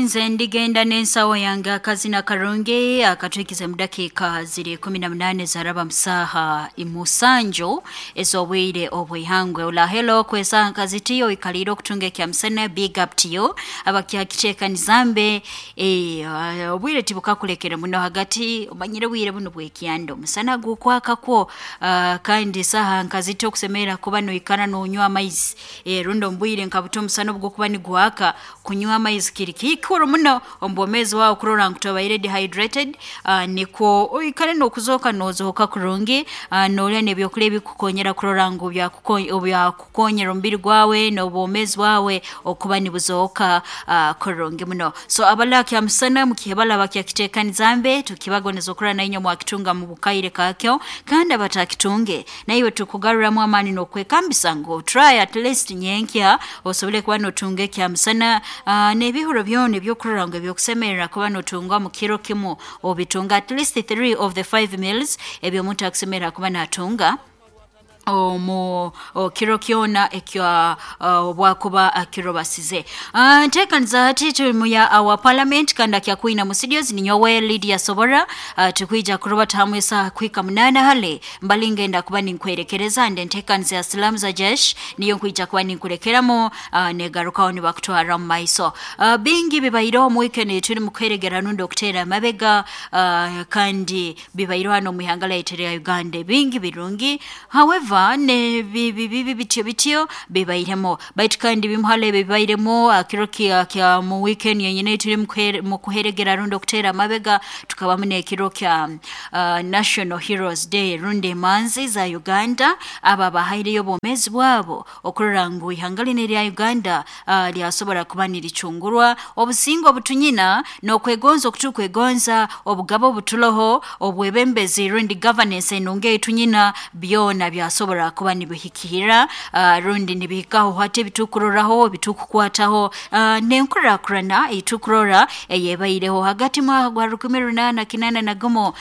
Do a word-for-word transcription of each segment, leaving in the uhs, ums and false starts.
Nze ndigenda n'ensawo yange. Akazina karungi akatwikize mu dakiika ziri kumi na munane zaraba musaha imusanju ez'obwire obwihangwe. Ulahelo kwesa nkazitiyo ikalire okutunga ekyamusana, big up to you abakyakicekanizambe. eh, obwire tibukakulekere muno hagati, omanyire bwire buno bwekyanda, omusana gukwakakwo. uh, kandi saha nkaziti okusemera kuba noikara nonywa amaizi, eh, rundi omu bwire nkabuta omusana obugukuba nigwaka, kunywa amaizi kiri kikuru muno omu bwomeezi bwawe kurora ngu tobaire dehydrated, uh, nikwo oikare n'okuzooka nozooka kurungi, uh, nolya n'ebyokulya ebikukonyera kurora ngu byakukonyera omubiri gwawe n'obwomeezi bwawe okuba nibuzooka uh, kurungi muno. So abalya kyamusana mukihebala bakyakitekaniza, tukibagondeza okurora nainywe mwakitunga mu bukaire kakyo, kandi abatakitunge naiwe tukugaruramu amaani n'okwekambisa ngu try at least nyenkya osobole kuba notunga ekyamusana, uh, n'ebihuro byona ebyokurora ngu ebyokusemerera kuba notunga mu kiro kimu obitunga, at least three of the five meals ebyomuntu akusemerera kuba natunga omu kiro kyona ekya obwakuba akirobasize. uh, ntekaniza hati tuli muya our parliament kandi akyakwina mu studios ninyowe Lydia Sobora. uh, tukwija kurobata hamwe esaha kuhika munana hale mbali ngenda kuba ninkwerekereza nde ntekaniza ya Salamu za Jesh niyo nkwija kuba ninkulekeramo, uh, negarukaho nibakutwara mu maiso. uh, bingi bibaireho mu weekend tuli mukweregera nundi okutera amabega, uh, kandi bibaireho hano mu ihanga lyaitu lya Uganda, bingi birungi, however ne bibi bibi bityo bityo bibairemo, baitu kandi bimuhale bibairemo akiro kya kya mu weekend yenyine tuli mu kuheregera rundi okutera amabega, tukabamu n'ekiro kya uh, National Heroes Day rundi emanzi za Uganda, aba bahaireyo obwomeezi bwabo okurora ngu ihanga lino erya Uganda uh, lyasobora kuba niricungurwa, obusingo obutunyina n'okwegonza okutukwegonza, obugabo obutuloho, obwebembezi rundi governance enungi eitunyina, byona byasobora kuba nibihikira, uh, rundi nibihikaho hati ebitukuroraho, ebitukukwataho, uh, n'enkurakurana eitukurora eyebaireho hagati mwaka gwa rukumi runaana kinaana na gumu, uh,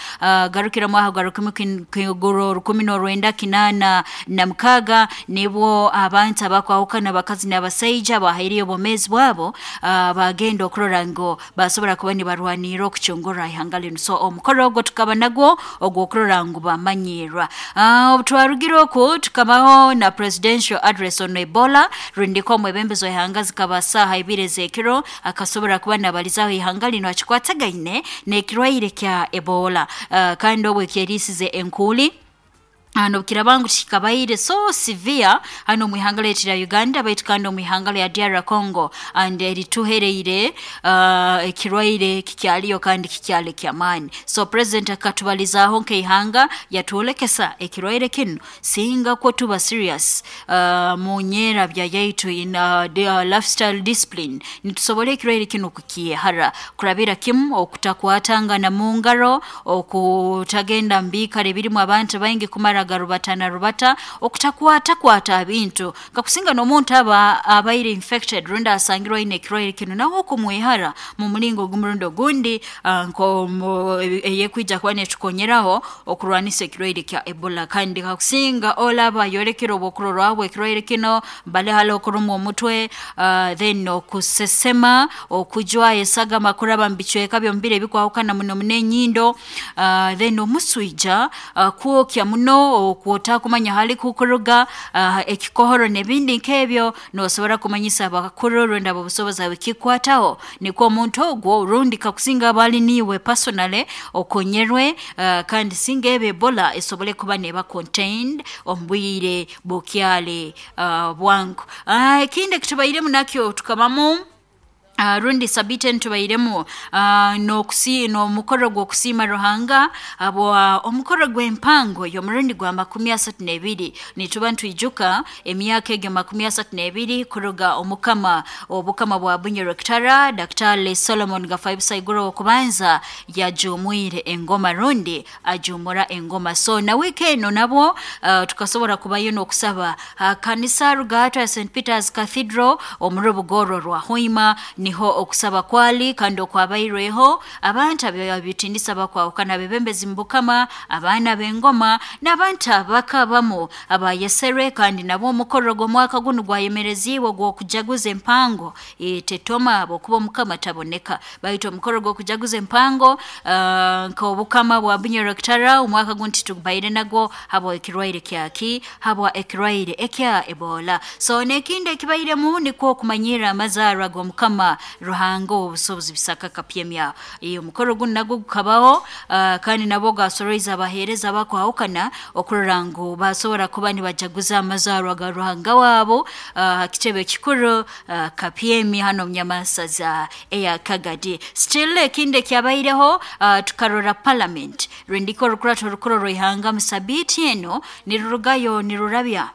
garukira mwaka gwa rukumi kiguru rukumi n'orwenda kinaana na mukaaga, nibwo abantu abakwahukana, abakazi n'abasaija, bahaireyo obwomeezi bwabo, uh, bagenda okurora ngu basobora kuba nibarwanirra okucungura ihanga linu. So omukoro ogwo tukaba nagwo ogw'okurora ngu bamanyirwa. uh, obu twarugire oku tukabaho na presidential address on Ebola, rundiko omwebembezi w'ihanga zikaba saaha ibiri ez'ekiro akasobora kuba nabalizaho ihanga lino akikwatagaine n'ekirwaire kya Ebola, uh, kandi obwo ekyeriisize enkuuli hano kirabangu kikabaire so severe hano mu ihanga lyaitu lya Uganda, baitu kandi omu ihanga lya D R Congo and erituhereire uh, ekirwaire kikyaliyo kandi kikyali kyamaani. So president akatubalizaaho nk'eihanga, yatwolekesa ekirwaire kinu singa kwo tuba serious uh, mu nyerabya yaitu in uh, the, uh, lifestyle discipline, nitusobora ekirwaire kinu kukyehara kurabira kimu okutakwatangana mu ngaro, okutagenda mu biikaro ebirimu abantu baingi kumara garubatana rubata, okutakwatakwata bintu, kakusinga n'omuntu aba abaire infected rundi asangirwe aine ekirwaire kinu, nawe okumwehara mu mulingo ogumurundi ogundi, uh, nko eyekwija kuba netukonyeraho okurwanisa ekirwaire kya Ebola. Kandi kakusinga olaba ayolekere obwokurorwaho ekirwaire kino, bale hali okurumwa omutwe, uh, then okusesema, okujwa esagama kuraba mu bicweka by'omubiri ebikwahukana muno muno enyindo, uh, then omuswija, uh, kwokya muno okwotakumanya hali kukuruga, uh, ekikohoro n'ebindi nk'ebyo, nosobora kumanyisa abakuru rundi abobusobozi abikikwataho, nikwo omuntu ogwo rundi kakusinga abali niiwe personally okonyerwe, uh, kandi singa ebe Ebola esobole kuba neba contained omu bwire bukyali uh, bwangu. uh, ekindi ekitubairemu nakyo tukabamu, Uh, rundi sabite ntubairemu uh, n'okusi n'omukoro gw'okusiima Ruhanga abwa omukoro gw'empango y'omurundi gwa makumi asatu n'ebiri. Nituba ntwijuka emyaka egyo makumi asatu n'ebiri kuruga omukama obukama bwa Bunyoro Kitara Daktari Solomon Gafaibusaiguro okubanza yajumwire engoma rundi ajumura engoma. So na wiiki eno nabwo uh, tukasobora kubayo n'okusaba uh, kanisa Rugato ya Saint Peter's Cathedral omu rubugoro rwa Hoima. Niho okusaba kwali kandi okwabairweho abantu abitindisa bakwahukana bebembezi mbukama abaana b'engoma n'abantu abakabamu abayesere kandi nabo omukoro gw'omwaka gunu gwayemereziibwe gw'okujaguza empango e, tetoma abokuba omukama taboneka baitu omukoro gw'okujaguza empango uh, nk'obukama bwa Bunyoro Kitara omwaka guno titubaire nagwo habwa ekirwaire kyaki habwa ekirwaire ekya Ebola. So n'ekindi ekibairemu nikwo okumanyira amazaarwa g'omukama Ruhanga obusobozi bisaka kapyemya. E, omukoro guno nagwo gukabaho uh, kandi nabo gasoroiza abaheereza bakwahukana okurora ngu basobora kuba nibajaguza amazaarwa ga Ruhanga wabo uh, kitebe kikuru uh, kapyemi hano munyamasaza eya Kagadi. Still ekindi ekyabaireho uh, tukarora parliament rwendiko rukurato rukuru rw'ihanga musabiti eno nirurugayo nirurabya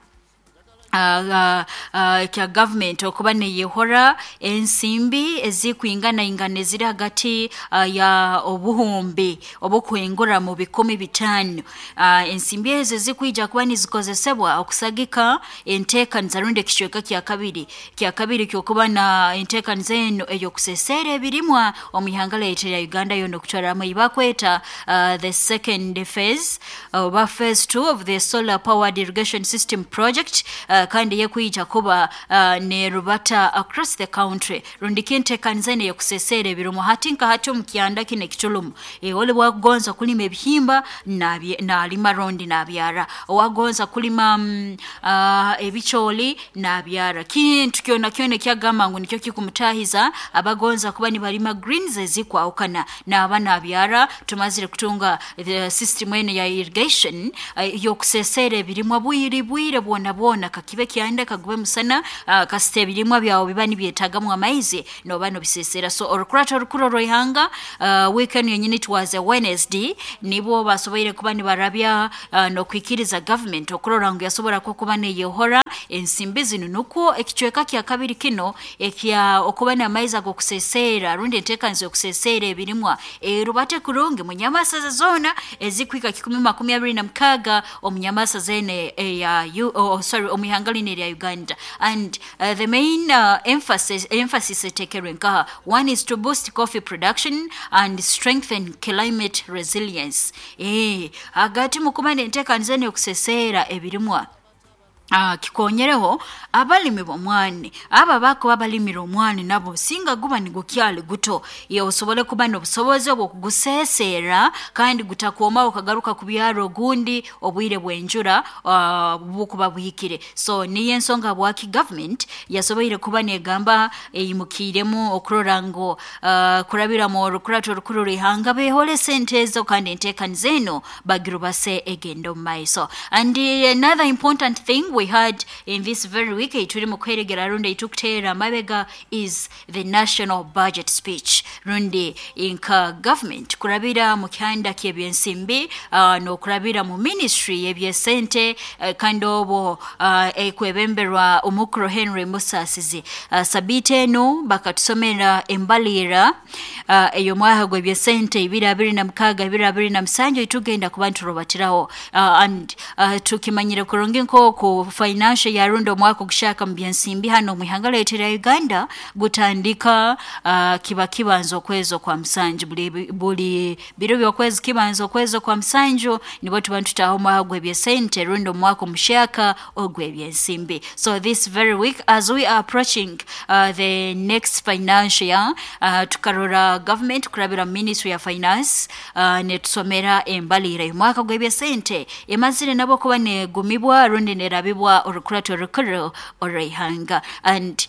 Uh, uh, uh, kya government okuba neyehora ensimbi ezikwingana ingana eziri hagati uh, ya obuhumbi obukuhingura mu bikumi bitano. uh, ensimbi ezo zikwija kuba nizikozesebwa okusagika enteekaniza rundi ekicweka kya kabiri kya kabiri kyokuba na enteekaniza eno ey'okusesera ebirimwa omu ihanga lyaitu lya Uganda yona okutwaramu eibakweta uh, the second phase oba uh, phase two of the solar powered irrigation system project uh, kandi yekwija kuba uh, nerubata across the country rundi kinteekaniza eno eyokusesera ebirimu hati nka hati omu kyanda kino ekitulumu e, ole bwakugonza kulima ebihimba nalima rundi nabyara owagonza kulima mm, uh, ebicooli nabyara kintu kyona kyona ekyagamba ngu nikyo kikumutahiza abagonza kuba nibalima greens ezikwahukana naba nabyara. Tumazire kutunga the system eno ya irrigation uh, yokusesera ebirimwa bwire bwire bwona bwona kakibe kyanda kagube musana uh, kasite ebirimwa byawo biba nibyetagamu amaizi noba nobisesera. So orukurato rukuru rw'ihanga uh, weekend yenyini it was a Wednesday nibo basoboire kuba nibarabya uh, nokwikiriza government okurora ngu yasobora kuba neyehora ensimbi zino nukwo ekicweka kya kabiri kino ekya okuba n'amaizi ag'okusesera rundi enteekaniza yokusesera ebirimwa erubate kurungi munyamasaza zona ezikwika kikumi makumi abiri na mukaaga omunyamasaza ene eya oh, sorry omu ihanga lino erya Uganda. And uh, the main uh, emphasis emphasis etekerwe nkaha one is to boost coffee production and strengthen climate resilience. Eh hagati mu kuba n'enteekaniza eno yokusesera ebirimwa Uh, kikonyereho abalimi b'omwani aba bakuba balimira omwani nabo singa guba nigukyali guto ye osobole kuba n'obusobozi obw'okugusesera kandi gutakwoma okagaruka ku byaro ogundi obwire bw'enjura uh, bukuba buhikire. So niyo ensonga bwaki government yasoboire kuba negamba eyimukiiremu okurora ngu uh, kurabira mu rukurato rukuru rw'ihanga behole sente ezo kandi enteekaniza eno bagirubase egenda omu maiso. And uh, another important thing we had in this very week turi mu kweregera rundi itukutera mabega is the national budget speech rundi inka government kurabira mu kyanda ky'ebyensimbi uh, n'okurabira mu ministry y'ebyesente uh, kandi obo uh, ekwebemberwa omukuru Henry Musasizi. uh, sabite eno bakatusomera embalira uh, eyo mwaka gw'ebyesente ibiri abiri na mukaaga ibiri abiri na musanju itugenda kuba nturubatiraho uh, and uh, tukimanyire kurungi nk'oku financial yarundi omwaka ogushaka mu byensimbi hano mu ihanga lyaitu lya Uganda gutandika uh, kiba kibanza okwezi kwa musanju buli, buli biro by'okwezi kibanza okwezi kwa musanju nibo tuba ntutaho omwaka gw'ebyesente rundi omwaka omushaka ogw'ebyensimbi. So this very week as we are approaching uh, the next financial year uh, tukarora government kurabira ministry ya finance uh, netusomera embalira omwaka gw'ebyesente emazire nabo kuba negumibwa rundi nerabibwa orukurato rukuru orw'ihanga. And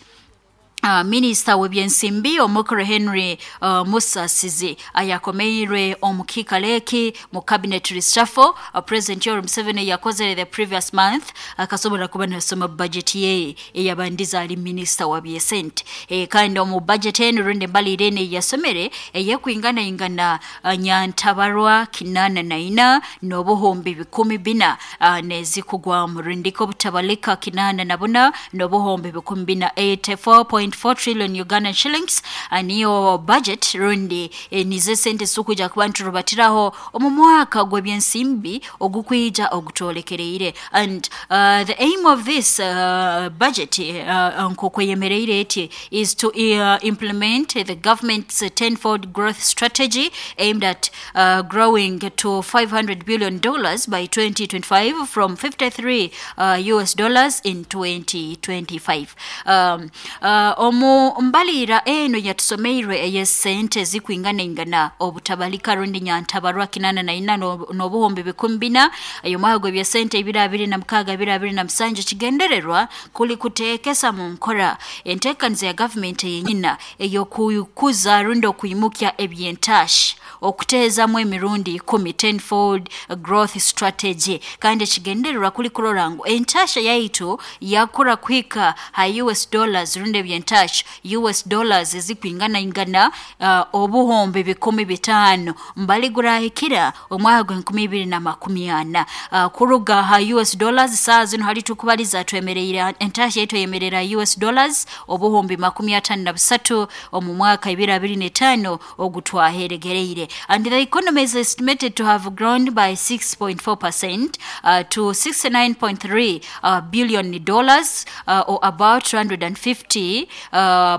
Uh, Minister w'ebyensimbi omukuru Henry uh, Musasizi ayakomeirwe omukikaleki mu cabinet reshuffle uh, President Yoweri Museveni yakozere the previous month akasobola kuba nasoma budget ye eyabandiza ali minister wa byesente e, kandi omu budget eno rundi embalire eno yasomere eyekwingana ingana uh, nyantabarwa kinana na ina n'obuhumbi bikumi bina uh, nezikugwa mu rundiko butabalika kinana na buna n'obuhumbi bikumi bina eighty-four point five point four trillion Ugandan shillings uh, niyo budget rundi eh, nizo sente zitukwija kuba niturubatiraho omu mwaka gw'ebyensimbi ogukwija ogutolekereire. And uh, the aim of this uh, budget uh, nk'okweyemereire eti is to uh, implement the government's tenfold growth strategy aimed at uh, growing to five hundred billion dollars by twenty twenty-five from fifty-three uh, U S dollars in twenty twenty-five. um, uh, omu mbalira eno yatusomeirwe ey'esente zikwinganaingana obutabalika rundi nyantabarwa kinana na ina n'obuhumbi bikumi bina ey'omwaka gw'ebyesente ibiri abiri na mukaaga ibiri abiri na musanju, kigendererwa kuli kuteekesa mu nkora enteekaniza ya gavumenti yenyina ey'okukuza rundi okwimukya ebyentashi okuteezamu emirundi ikumi, tenfold growth strategy. Kandi ekigendererwa kuli kurora ngu entasha yaitu yakura kuhika ha U S dollars rundi ebyentasha U S dollars ezikwingana ingana uh, obuhumbi bikumi bitaano mbali gurahikira omwaka gw'enkumi ibiri na makumi ana uh, kuruga ha U S dollars saa zino hali tukubaliza twemereire entasha yaitu eyemerera U S dollars obuhumbi makumi atano na busatu omu mwaka ibiri abiri n'etaano ogutwaheregereire. And the economy is estimated to have grown by six point four percent uh, to sixty-nine point three uh, billion dollars uh, or about two hundred fifty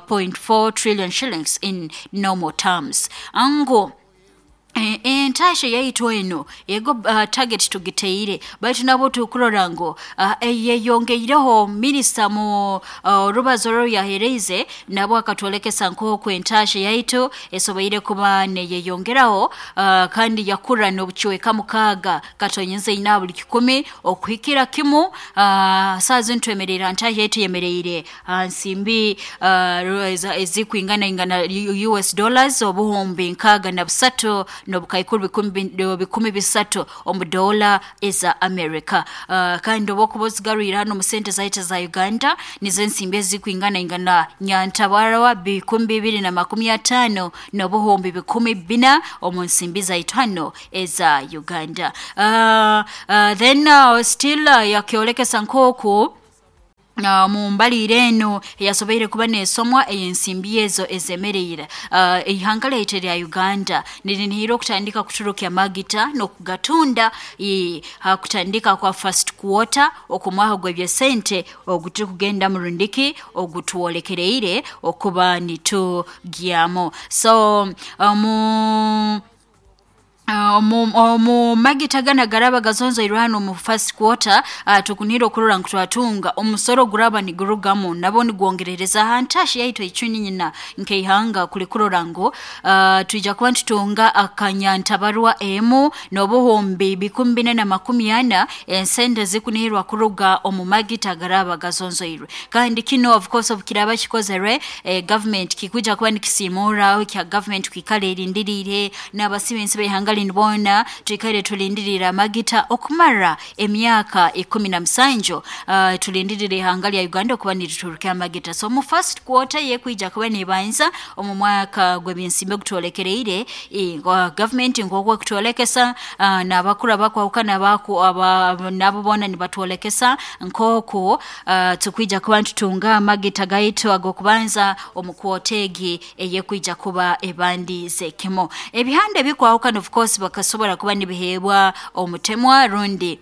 point four trillion shillings in normal terms. Ango entasha yaitu eno ego uh, target tugiteire, baitu nabo tukurora ngu uh, yeyongeireho. Minisita mu uh, rubazo rwo yahereize nabo akatwolekesa nk'oku entasha yaitu esoboire kuba neyeyongeraho uh, kandi yakura n'obucweka mukaaga katonyeze ina buli kikumi okuhikira kimu uh, saa zino twemerera ntasha yaitu yemereire uh, nsimbi uh, ezikwingana ingana U S dollars obuhumbi nkaaga na busatu n'obukaikuru bikumi bikumi bisatu omu dola eza America. uh, kandi obwokuba ozigarwire hano mu sente zaitu za Uganda, nizo ensimbi ezikwingana ingana nyantabarawa bikumi bibiri na makumi ataano n'obuhumbi bikumi bina omu nsimbi zaitu hano eza Uganda. uh, uh, then uh, still uh, yakyolekesa nk'oku Uh, mu mbalire eno yasoboire kuba nesomwa ensimbi ezo ezemereire uh, ihanga lyaitu lya Uganda nirinihira okutandika kuturukya magita n'okugatunda uh, kutandika kwa first quarter okumwaka gw'ebyesente ogutukugenda murundiki ogutwolekereire okuba nitugyamu. So uh, mu omu magita gana garaba gazonzoirwe hano mu first quarter, uh, tukunira okurora ngu twatunga omusoro guraba nigurugamu nabo nigwongerereza ha ntashi yaitu icuni nyina nkeihanga kuli kurora ngu uh, twija kuba ntutunga akanyantabarwa emu n'obuhumbi bikumi bina na makumi ana ensente zikunihirwa kuruga omu magita garaba gazonzoirwe. Kandi kino of course obukiraba kikozerwe eh, government kikuja kuba nikisimuraho kya government kwikala erindiriire n'abasibensi b'ihanga lino bona twikaire tulindirira amagita okumara emyaka ikumi na musanju, uh, tulindirira ihanga lya Uganda okuba nituturukya amagita. So mu first quarter yekwija kuba nibanza omu mwaka gw'ebyensimbi ogutwolekereire, e, government nk'oku ekutwolekesa uh, n'abakuru abakwahukana abaku aba, nabo bona nibatwolekesa nk'oku uh, tukwija kuba ntutunga amagita gaitu ag'okubanza omu kwota egi eyekwija kuba ebandize kimo. Ebihanda ebikwahukana of course bakasobola kuba nibiheebwa omutemwa rundi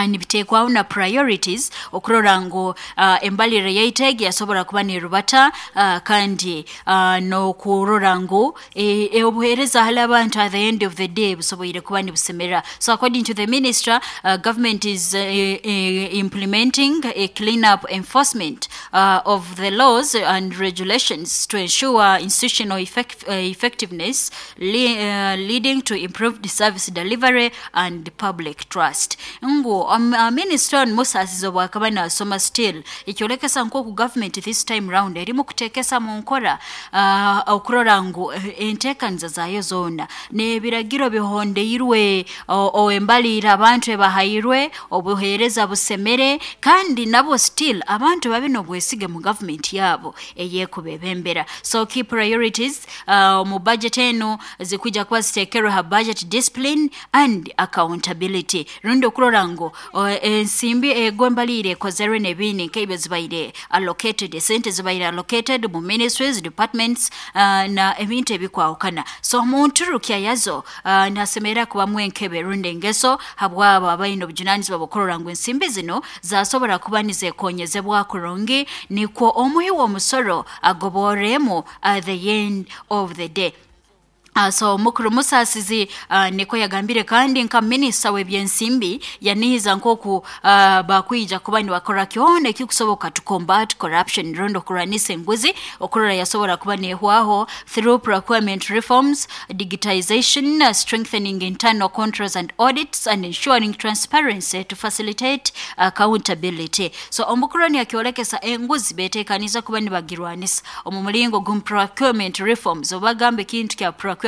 nibiteekwaho na priorities okurora ngu uh, embalire yaitu egi yasobola kuba nirubata uh, kandi uh, n'okurora ngu e, e, obuheereza hali abantu at the end of the day busoboire kuba nibusemera. So according to the minister, uh, government is uh, uh, implementing a clean up enforcement uh, of the laws and regulations to ensure institutional effect, uh, effectiveness le, uh, leading to improved service delivery and public trust. Ngu um, uh, minister Musasizi obwakaba nasoma still ekyolekesa nk'oku government this time round erimu kuteekesa mu nkora uh, okurora ngu enteekaniza zaayo zoona n'ebiragiro bihondeirwe embalire abantu ebahairwe obuheereza busemere kandi nabo still abantu babe n'obwesige mu government yaabo eyekubebembera. So key priorities uh, mu budget eno zikwija kuba ziteekerwe ha budget discipline and accountability rundi okurora ngu ngu ensimbi ego embalire ekozerwe n'ebindi nk'ebyo zibaire allocated, esente zibaire allocated mu ministries, departments uh, na ebintu ebikwahukana. So munturukya yazo uh, nasemera kubamu enkebe rundi engeso habwabo abaine obujunanizibwa bw'okurora ngu ensimbi zino zasobora kuba nizekonyezebwa kurungi, nikwo omuhi w'omusoro agoboremu at the end of the day. Uh, so mukuru Musasizi uh, niko yagambire, kandi nka minisita w'ebyensimbi yanihiza nkoku uh, bakwija kuba nibakora kyona ekikusoboka to combat corruption rundi okurwanisa enguzi okurora yasobora kuba nehwaho through procurement reforms, digitization, uh, strengthening internal controls and audits, and ensuring transparency to facilitate accountability. So omukuru ni akiolekesa enguzi betekaniza kuba nibagirwanisa omu mulingo gum procurement reforms. Obagamba ekintu kya procurement,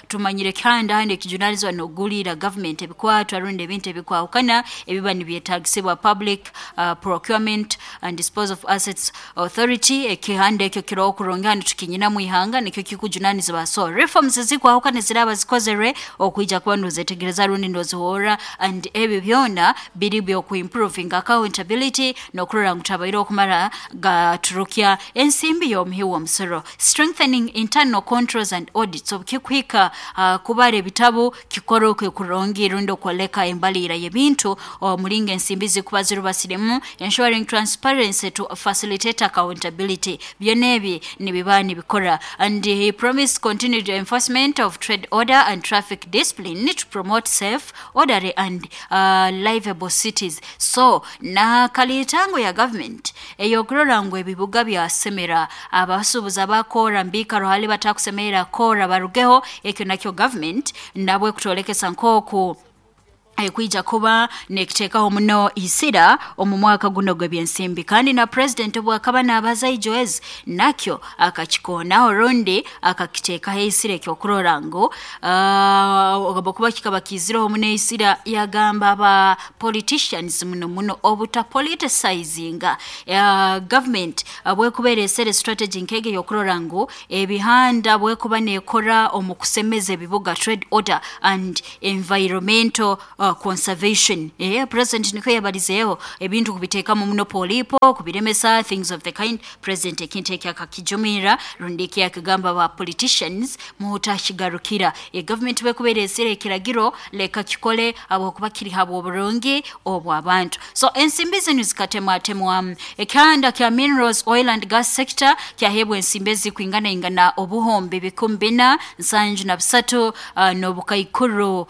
tumanyire kandi handi ekijunalizwa n'ogulira government ebikwatwa rundi ebintu ebikwahukana ebiba nibyetagisibwa Public uh, Procurement and Disposal of Assets Authority. Ekihanda ekyo kiroho kurungi handi tukinyina mu ihanga nikyo kikujunanizibwa. So reforms zikwahukana ziraba zikozerwe okwija kuba nozetegereza rundi nozihora, and ebyo byona biri byokuimproving accountability n'okurora ngu tabaire okumara gaturukya ensimbi y'omuhi w'omusoro. Strengthening internal controls and audits, kikuhika uh, kubara ebitabo kikoroke kurungi rundi okwoleka embalira y'ebintu omulinga ensimbi zikuba zirubasiremu, ensuring transparency to facilitate accountability. Byona ebi nibiba nibikora. And he promised continued enforcement of trade order and traffic discipline to promote safe, orderly and uh, livable cities. So na kalitango ya government eyokurora ngu ebibuga byasemera abasuubuzi abakora mbikaro hali batakusemera kora barugeho, ekyo nakyo government nabwe kutolekesa nkoku ekwija kuba nekitekaho muno isira omu mwaka guno gw'ebyensimbi. Kandi na president obwakaba nabaza ijoez nakyo akakikonaho rundi akakitekaho isira ekyokurora ngu uh, kuba kikaba kizireho muno isira, yagamba aba politicians muno muno obuta politicizinga uh, government bwekubeera esere strategy nkege yokurora ngu ebihanda bwekuba nekora omu kusemeza ebibuga, trade order and environmental uh, conservation. Eh, president niko yabalizeeho ebintu kubiteekamu muno polipo kubiremesa things of the kind. President ekintu ekyo akakijumira rundi eki akagamba ba politicians mutashigarukira e government bwekubeera esere ekiragiro leka kikole habwokuba kiri habwo oburungi obw'abantu. So ensimbi zino zikatemwatemwamu. Ekihanda kya minerals, oil and gas sector kyahebwa ensimbi ezikwingana ingana obuhombe bikumi bina nsanju na busatu uh, n'obukaikuru uh,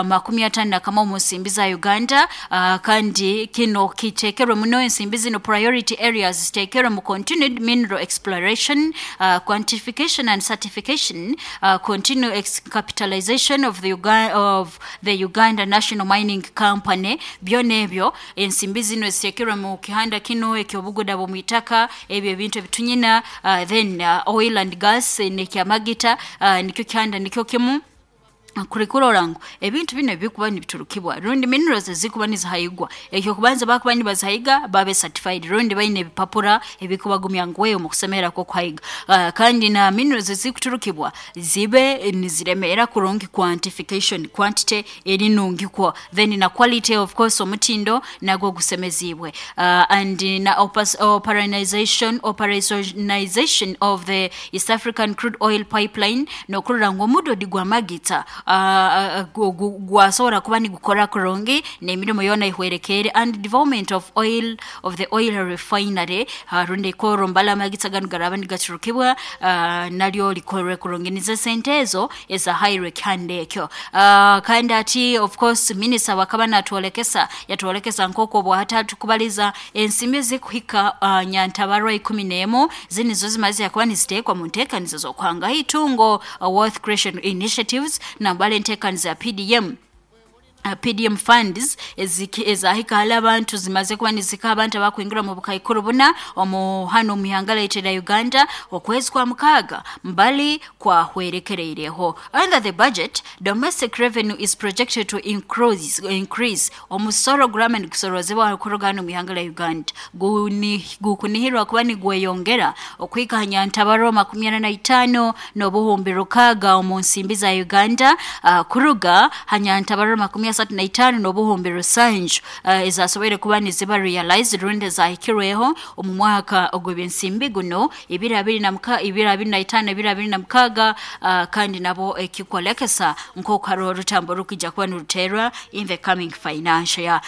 makumi atano na kamwe mu nsimbi za Uganda. uh, kandi kino kitekerwe muno ensimbi zino priority areas zitekerwe mu continued mineral exploration, uh, quantification and certification, uh, continued ex capitalization of the, Uga of the Uganda National Mining Company. Byona ebyo ensimbi zino zitekerwe mu kihanda kino ekyobuguda bw'omwitaka, ebyo ebintu ebitunyina, uh, then uh, oil and gas nekyamagita, uh, nikyo kihanda nikyo kimu kurikurora ngu ebintu bino bikuba nibiturukibwa rundi minerals zikuba nizihayigwa. Ekyo kubanza bakuba nibazihayiga babe certified rundi baine ebipapura ebikubagumya ngu wewe mu kusemera ko kuhayiga. Uh, kandi na minerals zikuturukibwa zibe niziremera kurungi quantification, quantity eri nungi kwa, then na quality of course omutindo nagwo gusemezibwe. Uh, and na operationalization operationalization of the East African crude oil pipeline nokurora ngu omudodi gwa magita gwasobora kuba nigukora kurungi n'emirimo yona ihwerekere, and development of oil of the oil refinery uh, rundi koro mbala amagitsa ganu garaba nigaturukibwa uh, naryo likorwe kurungi nize sente ezo eza high kandi ekyo. Uh, kandi ati of course minister wakaba natwolekesa yatwolekesa nkoko bwahatatu kubaliza ensimbi zikuhika uh, nyantabarwa ikumi n'emu zinizo zimaze yakuba nizitekwa mu nteekanizo z'okuhanga itungo uh, wealth creation initiatives na mbale nteekanizo ya P D M. P D M funds ezahika hali abantu zimaze kuba nizika abantu abakwingira mu bukaikuru buna omu hano mu ihanga la Uganda okwezi kwa mukaaga mbali kwa hwerekereireho. Under the budget, domestic revenue is projected to increase increase omusoro gurama nigusorozebwa kuruga mu ihanga la Uganda guni gukunihirwa kuba nigweyongera okwika nyantabaro makumi ana na itaano n'obuhumbi rukaga omu nsimbi za Uganda uh, kuruga hanyantabaro makumi asatu na itaano n'obuhumbi rusanju uh, ezasoboire kuba niziba realized rundi zahikirweho omu mwaka ogw'ebyensimbi guno ibiri abiri na muka ibiri abiri na itaano ibiri abiri na mukaga uh, kandi nabo ekikwolekesa nk'oku hariho orutambo rukija kuba niruterwa in the coming financial year.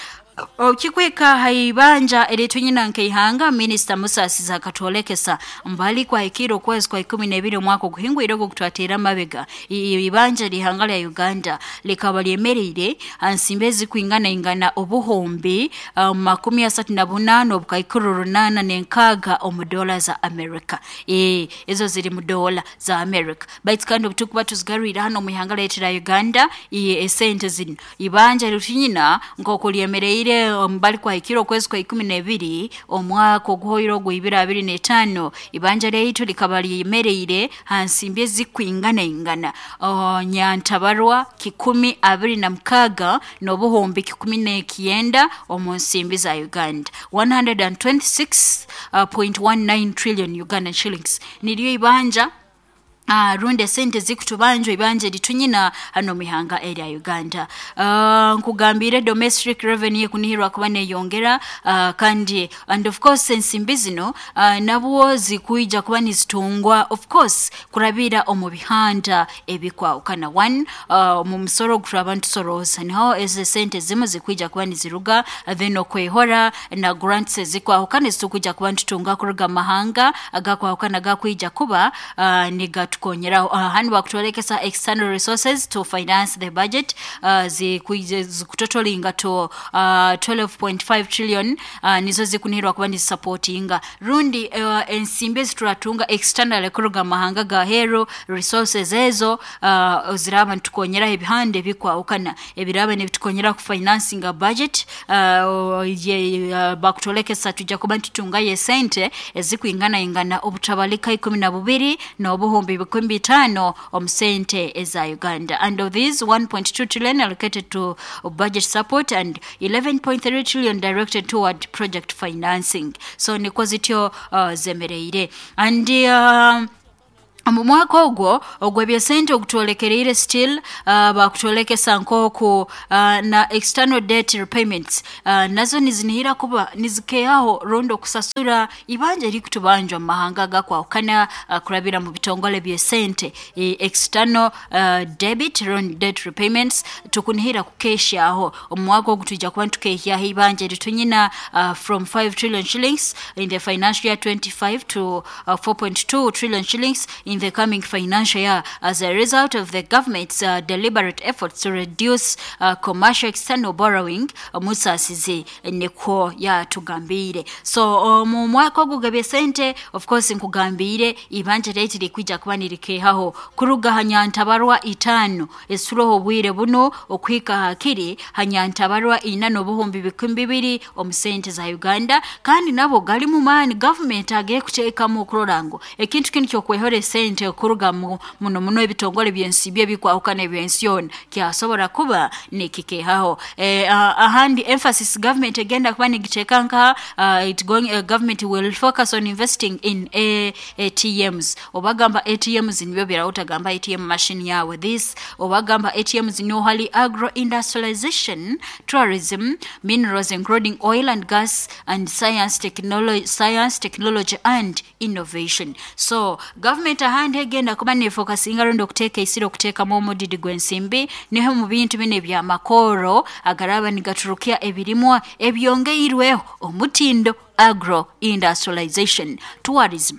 Okikweka haibanja eritunyina nkeihanga Minister Musasizi akatwolekesa mbali kwa hikiro okwezi kwa ikumi n'ebiri omwaka oguhingwire ogwo kutwatera mabega ibanja lihanga lya Uganda likaba lyemereire ansimbi ezikwingana ingana obuhumbi um, makumi asatu na bunano obukaikuru runana n'enkaaga omu dola za America. E, ezo ziri mu dola za America baitu kandi obutukuba tuzigarwire hano mu ihanga lyaitu lya Uganda e, esente zino ibanja litunyina nk'oku lyemereire mbali kwa hikiro okwezi kwa ikumi n'ebiri omwaka oguhoire ogwo ibiri abiri n'etaano ibanja lyaitu likaba lyemereire hansimbi ezikwingana ingana uh, nyantabarwa kikumi abiri na mukaga n'obuhumbi kikumi n'ekyenda omu nsimbi za Uganda one hundred twenty-six point one nine trillion Ugandan shillings niryo ibanja Uh, runde sente zikutubanjwa ibanje litunyina hano mihanga area Uganda. Uh, nkugambire domestic revenue kunihirwa kuba neyongera uh, kandi and of course ensimbi zino uh, nabwo zikuija kuba nizitungwa of course kurabira omu bihanda ebikwawukana one uh, mu musoro gutwaba ntusoroza niho eze sente zimu zikuija kuba niziruga then okwehora na grants zikwawukana zitukuija kuba ntutunga kuruga mahanga agakwawukana gakuija kuba uh, niga tukonyeraho. Uh, hanu bakutolekesa external resources to finance the budget uh, zikutotolinga to uh, twelve point five trillion uh, nizo zikunihirwa kuba nizisupportinga rundi uh, ensimbi zituratunga external kuruga mahanga ga hero resources ezo uh, ziraba ntukonyeraho ebihande bikwawukana ebiraba nibitukonyera ku financing a budget uh, ye, uh, bakutolekesa tujja kuba ntutunga ye sente ezikwingana ingana obutabalika ikumi na bubiri n'obuhumbi bikumi bitaano omu sente eza Uganda, and of these one point two trillion allocated to budget support and eleven point three trillion directed toward project financing. So niko zityo uh, zemereire and uh, mu mwaka ogwo ogw'ebyesente ogutwolekereire still uh, bakutwolekesa nk'oku uh, na external debt repayments uh, nazo nizinihira kuba nizikeaho rundi okusasura ibanja erikutubanjwa mu mahanga agakwawukana uh, kurabira mu bitongole byesente e, external uh, debit rundi debt repayments tukunihira kukeshaho omu mwaka ogu twija kuba ntukehyaho ibanja eritunyina uh, from five trillion shillings in the financial year twenty-five to uh, four point two trillion shillings in the coming financial year as a result of the government's uh, deliberate efforts to reduce uh, commercial external borrowing. Musasizi nikwo yatugambire. So mu mwaka ogugabye sente of course nkugambire ibanja rate likwija kuba nirikehaho kuruga hanyantabarwa itano esuroho obwire buno okwika hakiri hanyantabarwa ina n'obuhumbi bikumi bibiri omu sente za Uganda kandi nabo gali mu maani government agiye kuteekamu okurora ngu ekintu kinu kyokwehora sente okuruga muno muno ebitongole byensi bye bikwawukana ebyensi yona kyasobola kuba nikikehaho. E, uh, ahandi emphasis government egenda kuba nigiteeka nka uh, it going uh, government will focus on investing in A T Ms obagamba A T Ms nibyo birawutagamba A T M machine yawe this obagamba A T Ms niyo hali agro industrialization, tourism, minerals including oil and gas and science technology, science technology and innovation. So government ahandi egenda kuba nefokasinga rundi okuteeka isiro okuteekamu omudidi gw'ensimbi niho mu bintu bino ebyamakoro agaraba nigaturukia ebirimwa ebyongeirweho omutindo agro industrialization, tourism,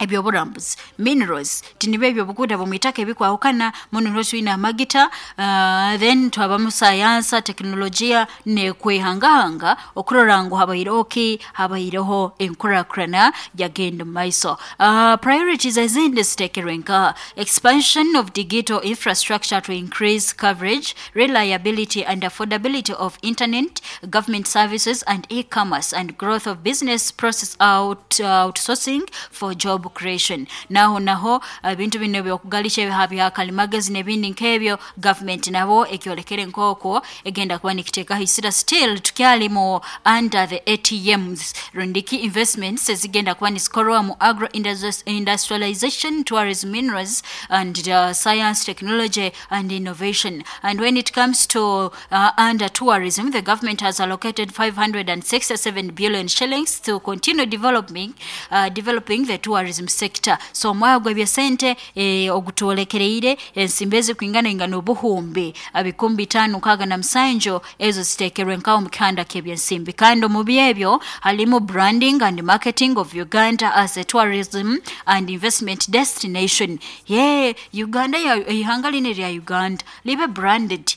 ebyoburambuzi, minerals tinibe ebyobuguda bumwitaka ebikwawukana muno notwina amagita uh, then twabamu sayansa teknolojia nekwehangahanga okurora ngu habaireho ki habaireho enkurakurana yagenda mu maiso. Uh, priorities ezindi ziteekerwe nka expansion of digital infrastructure to increase coverage, reliability and affordability of internet, government services and e-commerce and growth of business process out, uh, outsourcing for job Creation. Naho naho ebintu bino byokugalisha ebiha bya kalimagezi n'ebindi nk'ebyo, government nabo ekyolekere nk'okwo egenda kuba nikiteekaho isira. Still tukyali mu under the A T Ms, rundiki investments ezigenda kuba nizikorwa mu agro industrialization, tourism, minerals and uh, science, technology and innovation. And when it comes to uh, under tourism, the government has allocated five hundred sixty-seven billion shillings to continue developing uh, developing the tourism sector. So omwaka gw'ebyesente eh, ogutwolekereire, ensimbi ezikwingana ingana obuhumbi bikumi bitaano nkaaga na musanju ezo ziteekerwe nkawo mu kihanda ky'ebyensimbi. Kandi omu byebyo halimu branding and marketing of Uganda as a tourism and investment destination. Ye Uganda, ihanga lino lya Uganda libe branded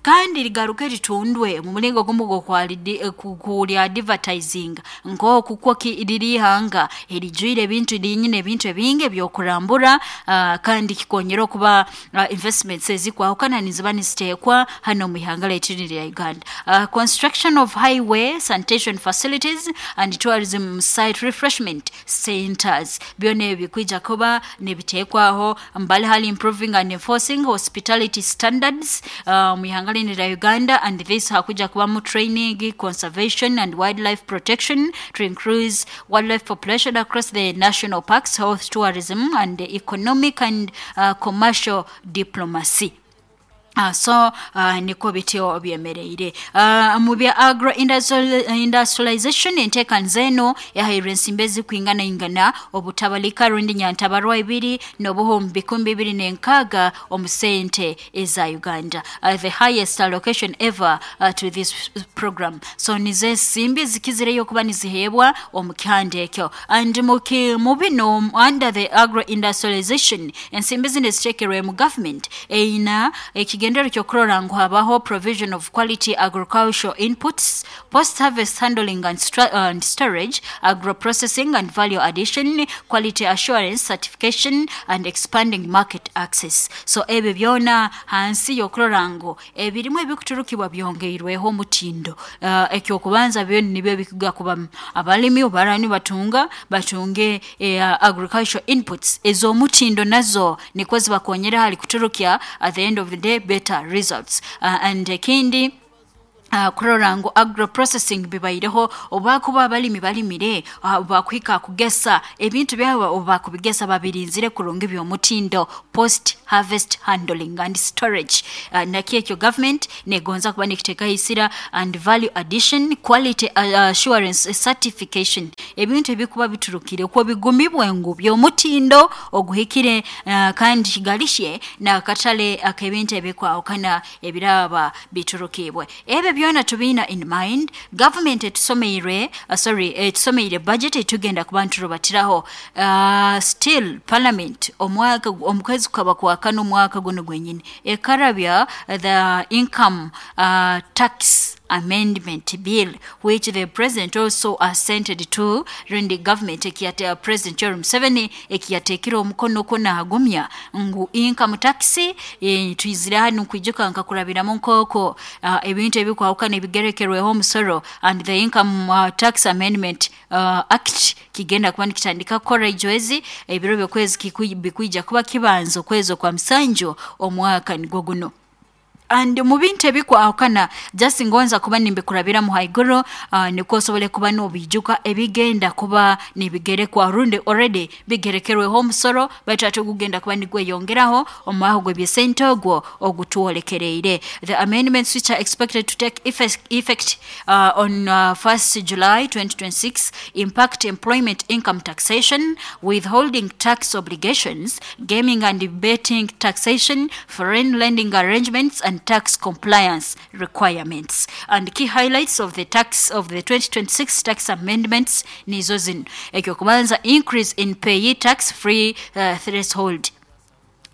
kandi ligaruke litundwe mu mulingo gumu gw'okwali advertising nk'oku kwo liri ihanga erijwire ebintu, linyine ebintu ebingi ebyokurambura, uh, kandi kikonyera okuba uh, investments ezikwahukana niziba niziteekwa hano mu ihanga lyaitu lya Uganda. uh, construction of highway, sanitation facilities and tourism site refreshment centers, byona ebyo bikwija kuba nibiteekwaho. Mbali hali improving and enforcing hospitality standards uh, mu ihanga lino lya Uganda, and this hakuja kubamu training, conservation and wildlife protection to increase wildlife population across the national parks, health tourism and economic and uh, commercial diplomacy. Uh, so uh, niko bityo byemereire. uh, mu bya agro industrialization, enteekaniza eno yahairwe ensimbi ezikwingana ingana obutabalika rundi nyantabarwa ibiri n'obuhumbi bikumi bibiri n'enkaaga omu sente eza Uganda, uh, the highest allocation ever uh, to this program. So nizo ensimbi zikizireyo okuba niziheebwa omu kihanda ekyo. And mu bino, under the agro industrialization, ensimbi zino eziteekerwe mu government eyina ekigendererwa ky'okurora ngu habaho provision of quality agricultural inputs, post harvest handling and, and storage, agro processing and value addition, quality assurance, certification and expanding market access. So ebyo byona hansi y'okurora ngu ebirimu ebikuturukibwa byongeirweho omutindo. uh, ekyokubanza byona nibyo bikuga kuba abalimi obarani batunga batunge eh, agricultural inputs ez'omutindo, nazo nikwo zibakonyera hali kuturukya at the end of the day better results. uh, and ekindi, Uh, kurora ngu agro processing bibaireho, obakuba abalimi balimire, uh, bakwika kugesa ebintu byabo, obakubigesa babirinzire kurungi by'omutindo, post harvest handling and storage, uh, nakyo ekyo government negonza kuba nikiteeka isira, and value addition, quality uh, assurance, certification, ebintu ebikuba biturukire okwo bigumibwe ngu by'omutindo oguhikire, uh, kandi kigalishe nakatale ak'ebintu ebikwawukana ebiraba biturukibwe. Ebyo byona tubiina in mind, government etusomeire, uh, sorry, etusomeire budget etugenda kuba nturubatiraho. uh, still parliament omwaka omukwezi kukaba kwakana omwaka guno gwenyini ekarabya the Income uh, Tax Amendment Bill, which the president also assented to, rundi government ekiyate President Yoweri Museveni ekiyateekire omukono kwo naagumya ngu income tax e, twizire hanu kwijuka nkakurabiramu nkoko uh, ebintu ebikwawukana ebigerekerweho omusoro, and the Income uh, Tax Amendment uh, Act kigenda kuba nikitandika kukora ijwezi ebiro byokwezi bikwija kuba kibanza okwezi okwa musanju omwaka nigwo guno. And mu bintu ebikwawukana, just ngonza kuba nimbikurabiramu haiguru, uh, nikwo osobole kuba nobijuka ebigenda kuba nibigerekwa rundi already bigerekerweho omusoro, baitu ate ogugenda kuba nigweyongeraho omwaho gw'ebyesente ogwo ogutwolekereire. The amendments, which are expected to take effect, effect uh, on uh, first July twenty twenty-six, impact employment income taxation, withholding tax obligations, gaming and betting taxation, foreign lending arrangements and tax compliance requirements. And key highlights of the tax of the twenty twenty-six tax amendments nizo zino: ekyokubanza, increase in P A Y E tax free uh, threshold.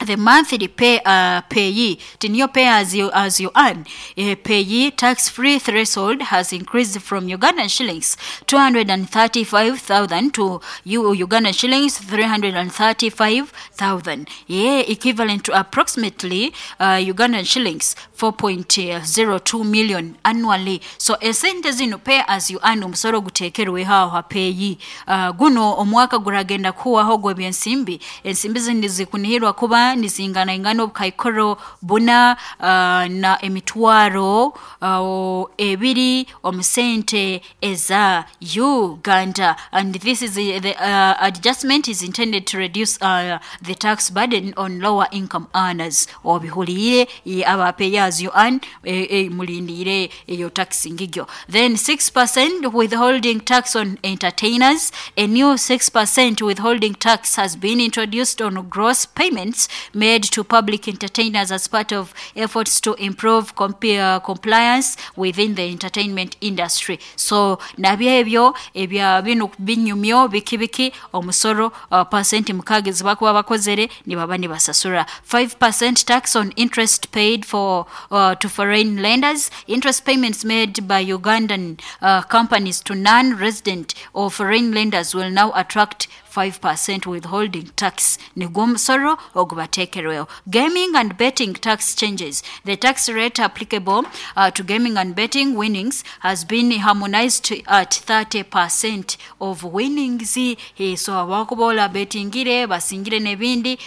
The monthly pay uh, payee, tinio pay as you as you earn, uh, payee tax free threshold has increased from Ugandan shillings two hundred thirty-five thousand to U- Ugandan shillings three hundred thirty-five thousand, yeah, equivalent to approximately uh, Ugandan shillings four point zero two million annually. So esente zino pay as you earn omusoro guteekerweho aho ha payee uh, guno omwaka guragenda kuwaho gw'ebyensimbi ensimbi zindi zikunihirwa kuba nizingana ingana obukaikoro buna uh, na emitwaro uh, ebiri omusente eza Uganda, and this is the, the uh, adjustment is intended to reduce uh, the tax burden on lower income earners. Obihuliire aba pay as you earn e, e, mulindire eyo tax ngigyo. Then six percent withholding tax on entertainers. A new six percent withholding tax has been introduced on gross payments made to public entertainers as part of efforts to improve comp- uh, compliance within the entertainment industry. So nabyo ebyo ebya bino binyumyo biki biki omusoro uh, percent mukaaga ezibakuba bakozere nibaba nibasasura. five percent tax on interest paid for uh, to foreign lenders. Interest payments made by Ugandan uh, companies to non-resident or foreign lenders will now attract five percent withholding tax. Nigwo omusoro ogubateekerweho. Gaming and betting tax changes. The tax rate applicable uh, to gaming and betting winnings has been harmonized at thirty percent of winnings. He, so abakubola betingire basingire n'ebindi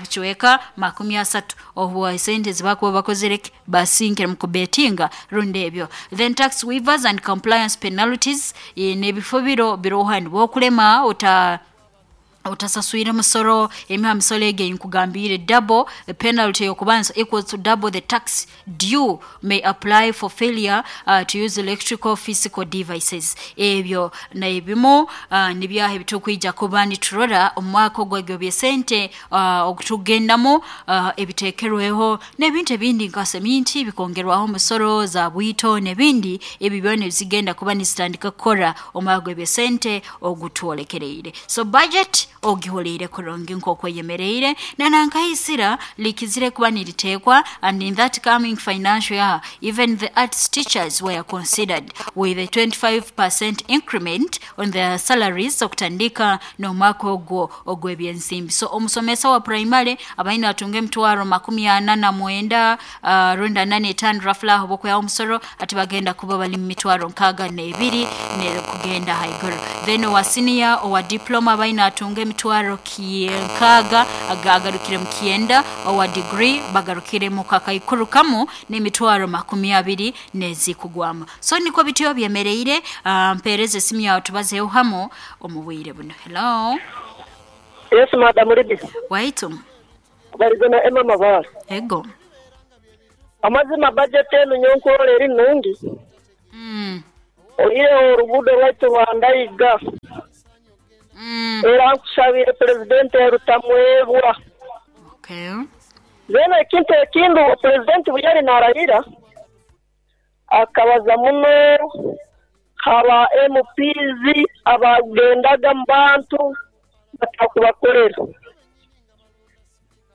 kiweka makumi asatu obu sente zibakuba bakozere basingire mu kubetinga rundi ebyo. Then tax waivers and compliance penalties n'ebifo biro birohani bwokulema ota otasaswire musoro emiha misoro ege nkugambire double the penalty yokubanza equals to double the tax due may apply for failure uh, to use electrical physical devices. Ebyo na ebimu uh, nibyaha ebitukwija kuba niturora omwaka ogwegyo byesente uh, okutugendamu uh, ebiteekerweho n'ebintu ebindi nka seminti bikongerwaho omusoro za bwito n'ebindi ebyo byona bizigenda kuba nizitandika kukora omwaka gw'ebyesente ogutwolekereire. So budget ogihuliire kurungi nk'okwo yemereire na nankaisira likizire kuba niritekwa, and in that coming financial year even the arts teachers were considered with a twenty-five percent increment on their salaries okutandika n'omwaka ogwo ogw'ebyensimbi. So omusomesa wa primary abaina atunga emitwaro makumi ana na mwenda uh, runda nane etaano rafula aho bokweyaho omusoro ati bagenda kuba bali mu mitwaro nkaaga n'ebiri ne kugenda haiguru. Then owa senior owa diploma abaina atunga emitwaro nkaaga agarukire mu kyenda, owa degree bagarukire mu kakaikuru kamu n'emitwaro makumi abiri n'ezikugwamu. So niko bityo byemereire. uh, mpereze esimu yawe tubazeho hamo omu bwire buno. Hello. Yes, madam Ruby. Waitu. Barizona Emma Mabara. Ego. Amazima budget enu nyonkorera eri nungi. Mm. Oyireho oruguudo rwaitu rwandayiga. Mm. Era nkusabire pulezidenti Rutamwebwa. Okay. Then ekintu ekindi pulezidenti bwe yali narahira akabaza muno aba M Ps abagendaga mu bantu batakubakorera,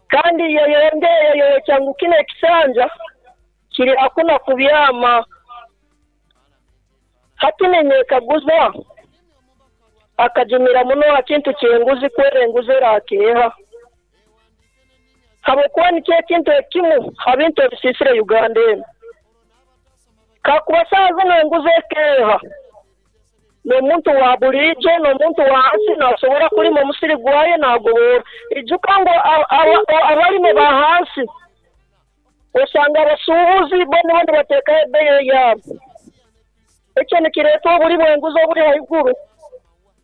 kandi yeyongeye yeyokya kino ekisanja kiri hakuna kubyama. Hati nenyekaguza akajumira muno akintu kyenguzi kwera enguzi erakeha habwokuba nikyo ekintu ekimu habintu ebisiisire Uganda eno. Kakuba saaha zino enguzi ekeha n'omuntu wa bulijo n'omuntu wa hansi nasobora kulima omusiri gwaye nagobora. Ijuka ngu abalimi ba hansi osanga abasuubuzi bo nibo nibateekaho ebbeeyi yaabo. Ekyo nikireeta obuli bw'enguzi obuli haiguru.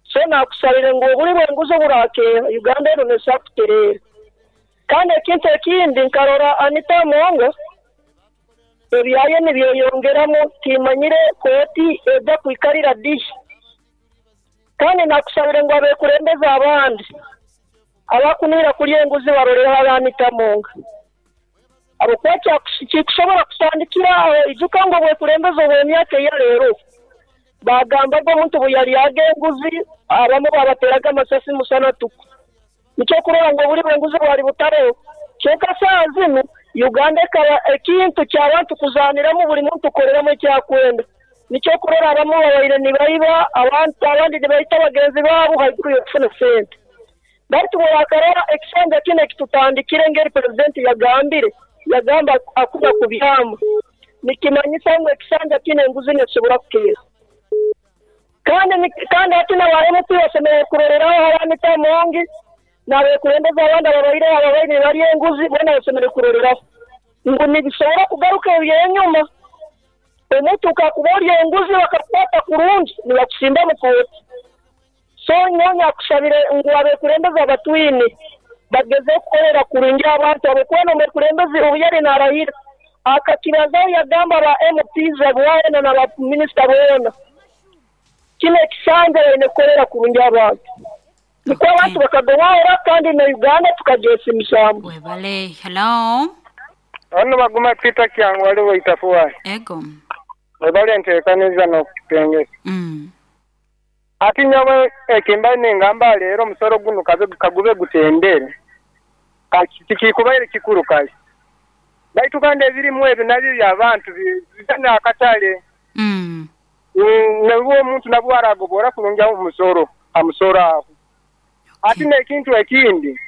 So nakusabire ngu obuli bw'enguzi oburakeha Uganda eno nesobola kutereera. Kandi ekintu ekindi nkarora Anita Among ebyaye nibyeyongeramu timanyire kooti ejja kwikarira dishi. Kandi nakusabire ngu abeekulembeze abandi abakunira kulya enguzi baroleho Anita Among. Ahabwokuba kikushobora kusandikira aho ijuka ngu obwekulembeze obw'emyaka eya leero bagambaga omuntu bwe yalyaga enguzi abamu babateraga amasasi musana tuku. Nikyo kurora ngu obuli bw'enguzi bwali butaroho. Kyonka saaha zinu Uganda ekaba ekintu ky'abantu kuzaaniramu, buli muntu kukoleramu ekyakwenda. Nikyo kurora abamu babaire nibaiba abantu, abandi nibaita bagenzi baabo haiguru y'okufuna sente. Baitu bwewakarora ekisanja kinu ekitutandikire, ngeri purezidenti yagambire, yagamba akuba kubyama, nikimanyisa ngu ekisanja kinu enguzi nesobora kukeera. Kandi kandi hati n'aba M P basemeriire kuroreraho Anita Amongi n'abekulembeze abandi ababaire ababaire nibarya enguzi, boona basemeriire kuroreraho ngu nibisobora kugaruka ebyenyuma. Omuntu kakuba orya enguzi bakakukwata kurungi, nibakusimba mu kooti. So nyowe nyakusabire ngu abekulembeze abatwine bageze kukolera kurungi abantu, habwokuba n'omukulembeze obu yali naarahira akakibazaho, yagamba ba M Ps boona na ba minisita boona, kinu ekisanja baine kukolera kurungi abantu, nikwo abantu bakagobora kandi na Uganda tukagyesimisaamu. Webale. Hello. Ono baguma Peter Kyangu waliwo itafuwa. Ego. Webale nteekaniza n'okutengesa. Mm. Ati nyowe ekimba nengamba leero omusoro guno kabe kagube gutendere. Tikikubaire kikuru kale. Baitu kandi ebirimu ebyo nabyo by'abantu bizana akatale. Mm. Nabwo omuntu nabwo aragobora kurungi omusoro, amusoro aho. Ati n'ekintu ekindi,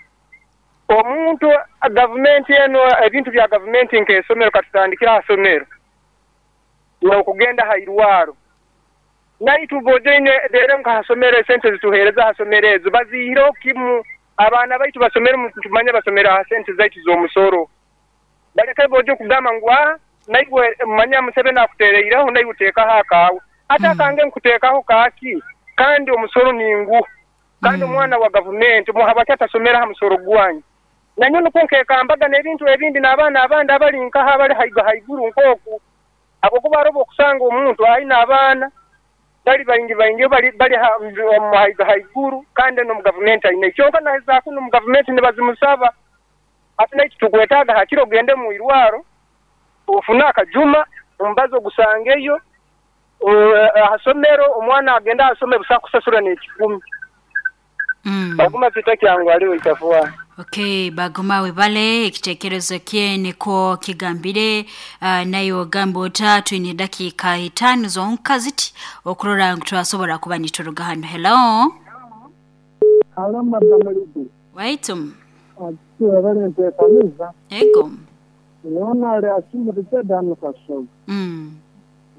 omuntu gavumenti eno ebintu bya gavumenti nk'esomero katutandikira aha somero n'okugenda ha irwaro. Naitu bojaine rero nkahasomero esente zituheereza ahasomero ezo baziihireho kimu, abaana baitu basomere tumanye basomera aha sente zaitu z'omusoro. Baleke bojo okugamba ngu ah naiwe manya Museveni akuteereireho naiwe oteekaho akaawe. Ate akange nkuteekaho kaaki kandi omusoro ninguha. Kandi omwana wa gavumenti muhabaki atasomera aha musoro gwanyu. Nanyo nukwo nkekambaga n'ebintu ebindi n'abaana abandi abali nkaha abali haiga haiguru nk'oku. Habwokuba hariho okusanga omuntu aine abaana bali baingi baingi bali bali haiga haiguru kandi n'omu gavumenti aine. Kyonka nahezaako n'omu gavumenti nibazimusaba. Ati naitu tukwetaaga hakiri ogende mu irwaro ofune akajuma omubazi ogusangeyo ahasomero omwana agenda asome busa kusasura n'ekikumi. Mm. Baguma Peter Kyangu aliwo itafuwa. Okay, baguma webale ekitekerezo kye niko kigambire. uh, nayo gamba ota twine dakika itaano zonka ziti okurora ngu twasobora kuba nituruga hano. Hello. Hello madam Lidu. Waitum. Ati webale nteekaniza. Ego. Niona ali asimuritse dano kasogo. Mm.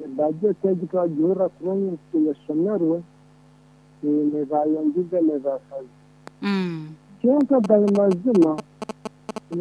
Ebajeti egi twagihurra kurungi tuyesomerwe nibayongize nibasaze. Mm. Kyonka gali mazima.